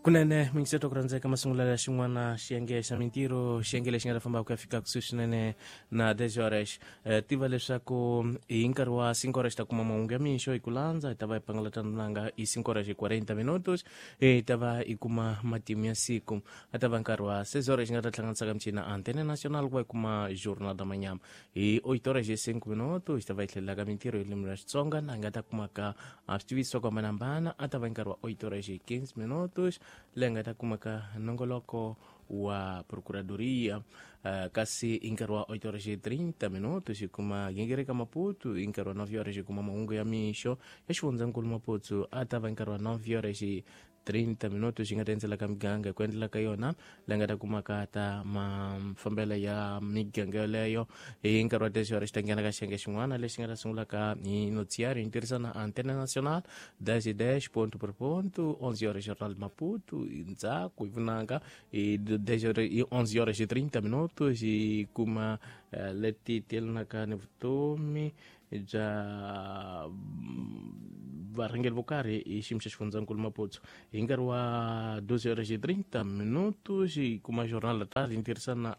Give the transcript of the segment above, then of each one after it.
Kunene mingiseto ku rhandzeka masungulo ya xin'wana xiyenge xa mintirho, xiyenge lexi nga ta famba ku ya fika kusuhi swinene na 10 horas. Tiva leswaku hi nkarhi wa 5 horas ta kuma mahungu ya mixo hi ku landza, hi ta va hi pangalata nanga hi 5 horas hi 40 minutos, hi ta va hi kuma matimu ya siku. A ta va nkarhi wa 6 horas xi nga ta hlanganisaka michini Antena Nacional ku va hi kuma Jornal da Manhã. Hi 8 horas hi 5 minutos hi ta va hi tlhelelaka mintirho hi ririmi ra Xitsonga, na hi nga ta kumaka switiviso swa ku hambanahambana. A ta va nkarhi wa 8 horas hi 15 minutos leyi nga ta kumaka nongoloko wa procuradoria. Kasi hi nkarhi wa 8 horas hi 30 minutos hi kuma gingirika Maputo. Hi nkarhi wa 9 horas hi kuma mahungu ya mixo ya xifundzankulu Maputo. A ta va nkarhi wa 9 horas hi 30 minutos xi nga ta endzela ka miganga hi ku endlela ka yona, leyi nga ta kumaka ta mafambelo ya miganga yoleyo. Hi nkarhi wa 10 horas xi ta nghena ka xiyenge xin'wana lexi nga ta sungulaka hi noticiário hi tirhisana Antena Nacional 10 10 ponto por ponto. 11 horas Jornal de Maputo, ndzhaku hi vunanga hi 10 horas, hi 11 horas hi 30 minutos hi kuma leti tiyelanaka ni vutomi bya varhangeri vo karhi hi xiyimo xa xifundzankulu Maputo. Hi nkarhi wa 12 horas hi 30 minutos hi kuma Jornal da Tarde hi tirhisana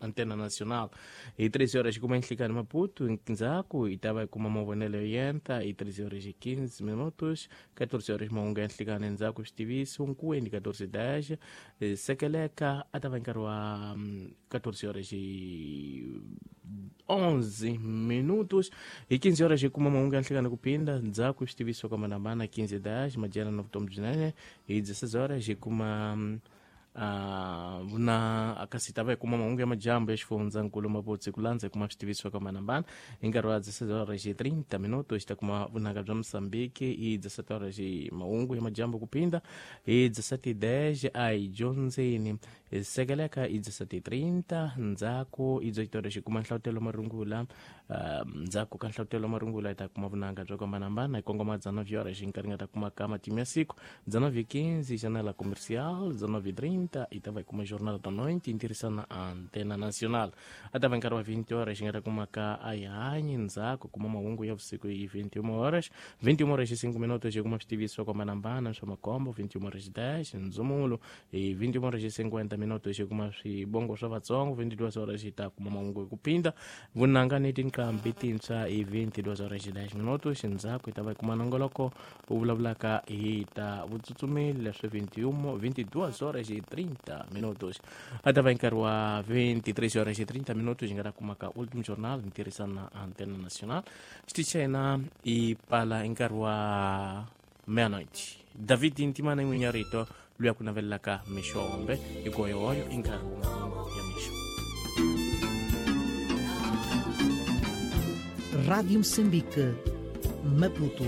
Antena Nacional. Hi 13 horas hi kuma Nhlikani Maputo, ndzhaku hi ta va hi kuma mavonelo yo yenta hi 13 horas hi 15 minutos. 14 horas mahungu ya nhlikani, ndzhaku switiviso nkuweni 14 10 sekeleka. A ta va nkarhi wa 14 horas hi 11 minutos. Hi 15 horas hi kuma mahungu ya nhlikani ku phinda, ndzhaku switiviso ka manamana 15 10 madyana na vutomi byinene. Hi 16 horas hi kuma vuna kasi ta va hi kuma mahungu ya majambu ya xifundzankulu Maputo, ku landza hi kuma switiviso ka manambana. Hi nkarhi wa 16 horas hi 30 minutos hi ta kuma vunanga bya Mosambiki. Hi 17 horas hi mahungu ya majambu ku phinda. Hi 17:10 a hi dyondzeni hi sekeleka. Hi 17:30, ndzhaku hi 18 horas hi kuma nhlavutelo marungula. Ndzhaku ka nhlavutelo marungula hi ta kuma vunanga bya ku hambanahambana hi kongoma 19 horas, hi nkarhi nga ta kuma ka matimu ya siku. 19:15 Janela Comercial. 19:30 hi ta va hi kuma Jornal da Noite hi tirhisana Antena Nacional. A ta va nkarhi wa 20 horas xi nga ta kuma ka a hi hanyi, ndzhaku kuma mahungu ya vusiku hi 21 horas. 21 horas hi 5 minutos hi kuma switiviso swa ku hambanahambana swa makombo. 21 horas 10 ndzumulo. Hi 21 horas hi 50 minutos hi kuma swivongo swa Vatsongo. 22 horas hi ta kuma mahungu hi ku phinda, vunanga ni tinqambi tintshwa hi 22 horas hi 10 minutos. Ndzhaku hi ta va hi kuma nongoloko wu vulavulaka hi ta vutsutsumeli leswi 21 22 horas hi 30 minutos. A ta va nkarhi wa 23 horas hi 30 minutos hi nga ta kuma ka Ultimo Jornal hi tirhisana Antena Nacional. Xitichi xa hina i pala hi nkarhi wa meia-noite. David Ntimana n'winyi rito luya ku navelelaka mixo hombe hi goyogoyo i nkarhi wa mahungu ya mixo. Rádio Moçambique, Maputo.